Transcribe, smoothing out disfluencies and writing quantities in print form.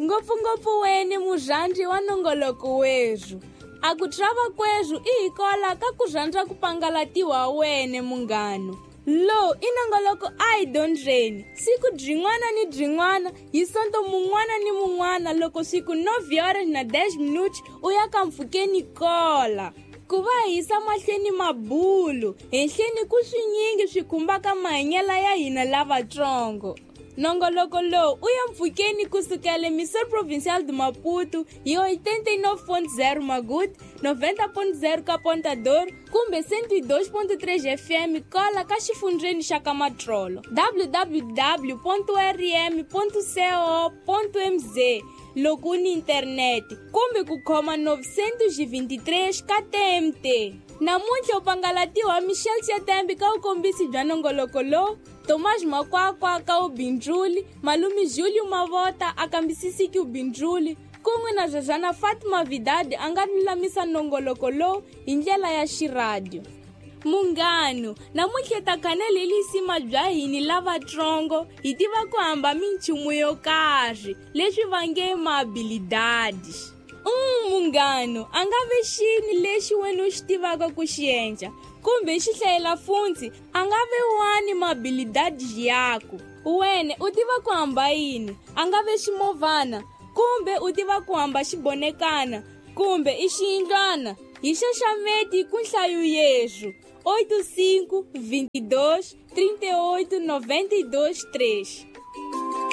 Ngopfungopfu wene murhandzi wa nongoloko werhu. A ku trava kwerhu i hikola ka ku rhandza ku pangalatiwa wene munghano. Lowu i nongoloko a hi dyondzeni siku byin'wana ni byin'wana hi sonto mun'wana ni mun'wana loko siku 9 horas na 10 minutos u ya ka mpfhukeni kola. Ku va hi yisa mahlweni mabulu henhleni ku swinyingi swi khumbaka mahanyelo ya hina lavatsongo. Nongoloko lowu u ya mpfhukeni kusukela Emissora Provincial de Maputo hi 89.0 Maguti, 90.0 ka Ponta Dor kumbe 102.3 FM kola ka xifundzheni xa ka Matrolo, www.rm.co.mz loko u ni internete kumbe ku khoma 923 ka TMT. Namuntlha u pangalatiwa Michel Chetembe ka vukombisi bya nongoloko lowu, Tomás Makwakwa ka ubindzuli, Malume Julio Mavota a kambisisiki ubindzuli, kun'we na Zazana Fatima Vidadi a nga lulamisa nongoloko lowu hi ndlela ya xiradio. Munghano, namuntlha ta khanele lisima bya hini lavatsongo hi tiva ku hamba minchumu yo karhi leswi va nge maabilidades. Munghano, a nga ve xini lexi wena u xi tivaka ku xi endla kumbe xi hlayela funtsi a nga ve wani maabilidades yaku. Wena u tiva ku hamba yini, a nga ve ximovhana kumbe u tiva ku hamba xibonekana kumbe i xiyindlwana. Hi xaxameti ku nhlayo yerhu 85 22 38 92 3.